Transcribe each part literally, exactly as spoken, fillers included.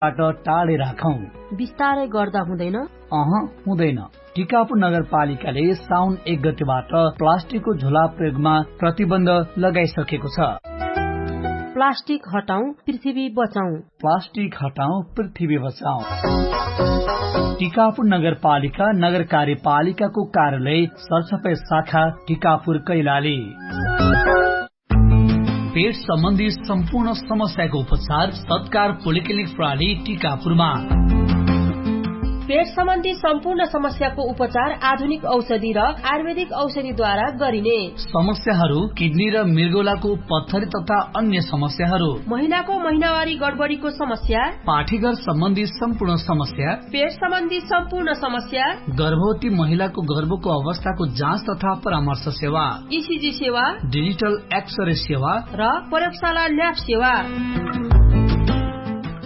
बाट टाढै राखौं। विस्तारै गर्दा हुँदैन। अह, हुँदैन। टिकापुर नगरपालिकाले साउन एक गतिबाट प्लास्टिकको झोला प्रयोगमा प्रतिबन्ध लगाइसकेको छ। प्लास्टिक हटाउँ, पृथ्वी बचाउँ। प्लास्टिक हटाउँ, पृथ्वी बचाउँ। टिकापुर नगरपालिका नगर कार्यपालिकाको कार्यालय सरसफाइ शाखा टिकापुर कैलाली। पेट सम्बन्धी सम्पूर्ण समस्याको उपचार सत्कार पोलिक्लिनिक प्रणाली टिकापुरमा। पेट सम्बन्धी सम्पूर्ण समस्याको उपचार आधुनिक औषधि र आयुर्वेदिक औषधिद्वारा गरिने। समस्याहरू किडनी र मृगौलाको पत्थरी तथा अन्य समस्याहरू। महिलाको महिनावारी गडबडीको समस्या। पाठीघर सम्बन्धी सम्पूर्ण समस्या। पेट सम्बन्धी सम्पूर्ण समस्या। गर्भवती महिलाको गर्भको अवस्थाको जाँच तथा परामर्श सेवा। इसिजी सेवा। डिजिटल एक्सरे सेवा। र प्रयोगशाला ल्याब सेवा।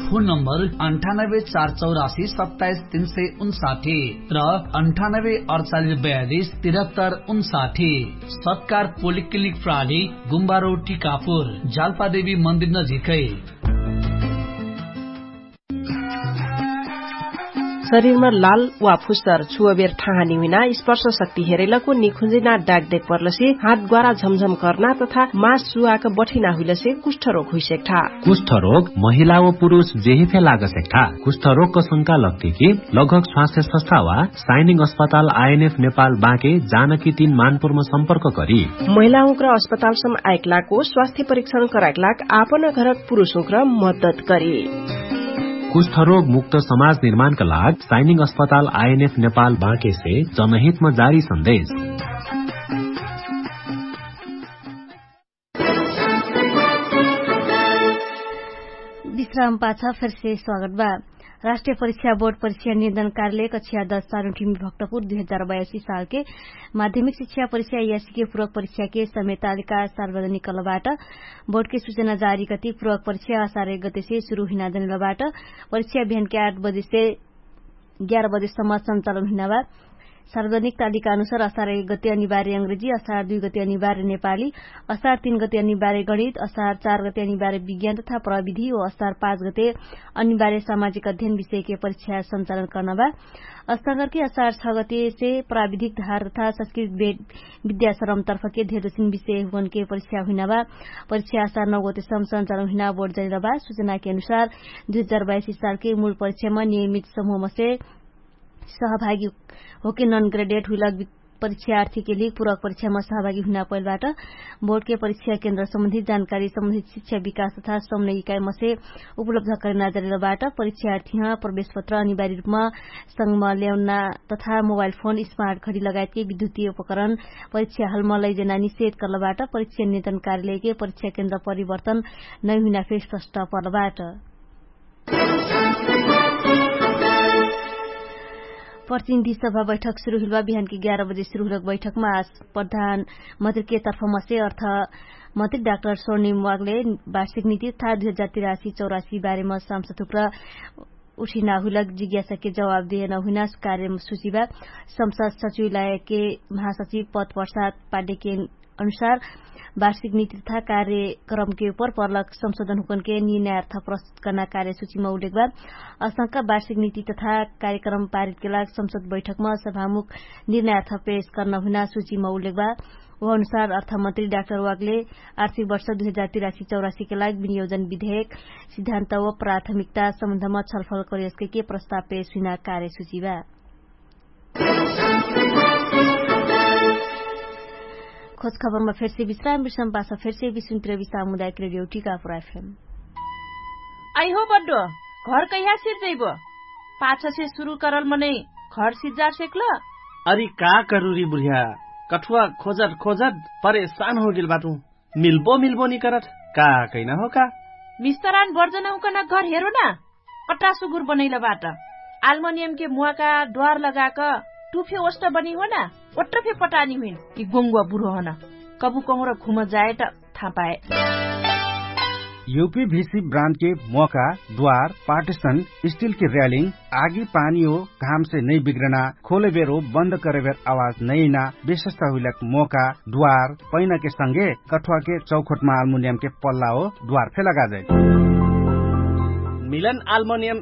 फोन नम्बर अन्ठानब्बे चार चौरासी सत्ताइस तीन सय उन्साठी र अन्ठानब्बे अडचालिस बयालिस तिरहत्तर उन्साठी। सत्कार पोलिक्लिनिक प्रणाली गुम्बारो टिकापुर जालपादेवी मन्दिर नजिकै। शरीरमा लाल वा फुस्सर छुवबेर ठाहानी हुइना स्पर्श शक्ति हेरैलको निखुन्जिना डाक देख पर्लसे हात ग्वारा झमझम कर्ना तथा मास सुवाक बठिना हुइलसे कुष्ठरोग हुइसेक्ठा। कुष्ठरोग महिला व पुरुष जेहिफे लागसेक्ठा। कुष्ठरोगक शंका लग्तिकी लगहक स्वास्थ्य सस्था वा साइनिङ अस्पताल आइएनएफ नेपाल बाँके जानकी तीन मानपुरमा सम्पर्क करी। महिलाहुँक्र अस्पतालसम आइकलाको स्वास्थ्य परीक्षण कराइकलाक आपन घरक पुरुषहुँक्र मद्दत करी। कुष्ठरोग मुक्त समाज निर्माणका लाग साइनिङ अस्पताल आइएनएफ नेपाल बाँकेसे जनहितमा जारी सन्देश। विश्राम पाछ फेरसे स्वागत बा। राष्ट्रिय परीक्षा बोर्ड परीक्षा नियन्त्रण कार्यालय कक्षा दस सारुठिमी भक्तपुर दुई हजार बयासी सालके माध्यमिक शिक्षा परीक्षा यासीके पूर्वक परीक्षाके समय तालिका सार्वजनिक कलबाट। बोर्डके सुचना जारी कति पूर्वक परीक्षा असार एक गतेसे सुरु हुइना जनेलबाट। परीक्षा बिहानके आठ बजेसे ग्यार बजेसम्म सञ्चालन हुइनाबा। सार्वजनिक तालिका अनुसार असार एक गते अनिवार्य अंग्रेजी, असार दुई गते अनिवार्य नेपाली, असार तीन गते अनिवार्य गणित, असार चार गते अनिवार्य विज्ञान तथा प्रविधि व असार पाँच गते अनिवार्य सामाजिक अध्ययन विषयके परीक्षा सञ्चालन कर्नाबा। असार छ गतेसे प्राविधिक धार तथा संस्कृत विद्याश्रम तर्फके धेर दक्षिण विषयहुँकनके परीक्षा हुइनाबा। परीक्षा असार नौ गतेसम्म सञ्चालन हुइना बोर्ड जनेलबा। सुचनाके अनुसार दुई हजार बाइसी सालके मूल परीक्षामा नियमित समूहमसे सहभागी होके नन ग्रेडेट हुइलक परीक्षार्थीके लिग पूर्वक परीक्षामा सहभागी हुइना पहिलबाट। बोर्डके परीक्षा केन्द्र सम्बन्धित जानकारी सम्बन्धित शिक्षा विकास तथा समन्वय इकाइमसे उपलब्ध करेना जरेलबाट। परीक्षार्थीह प्रवेशपत्र अनिवार्य रूपमा संगमा ल्याउना तथा मोबाइल फोन स्मार्ट घडी लगायतके विद्युतीय उपकरण परीक्षा हलमा लैजेना निषेध कर्लबाट। परीक्षा नियन्त्रण कार्यालयके परीक्षा केन्द्र परिवर्तन नैहुइना फेर स्पष्ट पर्लबाट। प्रतिनिधि सभा बैठक सुरु हुइलबा। बिहानके ग्यार बजे सुरु हुइलक बैठकमा प्रधान मन्त्रीके तर्फमसे अर्थ मन्त्री डाक्टर स्वर्णिम वागले वार्षिक नीति तथा दुई हजार तिरासी चौरासी बारेमा सांसदहुँक्र उठिना हुइलक जिज्ञासाके जवाब देहना हुइना कार्यसूचिबा। संसद सचिवालयके महासचिव पद प्रसाद पाड्यके अनुसार वार्षिक नीति तथा कार्यक्रमके उपर पर्लक संशोधनहुँकनके निर्णयार्थ प्रस्तुत कर्ना कार्यसूचिमा उल्लेखबा। असंका वार्षिक नीति तथा कार्यक्रम पारितके लाग संसद बैठकमा सभामुख निर्णयार्थ पेश कर्ना हुइना सूचिमा उल्लेखबा। उह अनुसार अर्थमन्त्री डाक्टर वागले आर्थिक वर्ष दुई हजार तिरासी चौरासीके लाग विनियोजन विधेयक सिद्धान्त व प्राथमिकता सम्बन्धमा छलफल करियसके प्रस्ताव पेश हुइना कार्यसूचिबा। खोज खबरमा फेरसे विश्राम विश्राम पाछ फेरसे विश्राम सामुदायिक रेडियो टिकापुर एफएम। आइहो बड्डो, घर कैहा सिर्जैबो? पाछसे सुरु करल मनै घर सिर्जा सेक्ल? अरि का करुरी बुढिया, कठुवा खोजट खोजट परेशान होगेल बाटु। मिल्बो मिल्बो निकरत का कैना हो का? मिस्तरान बर्जनहुँकन घर हेरो ना। अट्टा सुगुर बनैलबाट आल्मनियमके मुवाका द्वार लगाक टुफे ओष्ट बनी होना। ओट्रफे पटानी हुइन कि गोङ्गुवा बुढो हन। कबु कहुँर घुम जायट थापाए। युपी भिसी ब्रान्डके मोका द्वार पार्टिसन स्टिलके र्यालिङ आगी पानी हो घामसे नै बिग्रना खोलेबेर हो बन्द करेबेर आवाज नैना विशेषता हुइलक मोका द्वार पैनाके संगे कठुवाके चौखोटमा आल्मुनियमके पल्ला हो द्वार फेलगा जाए। मिलन आल्मोनियम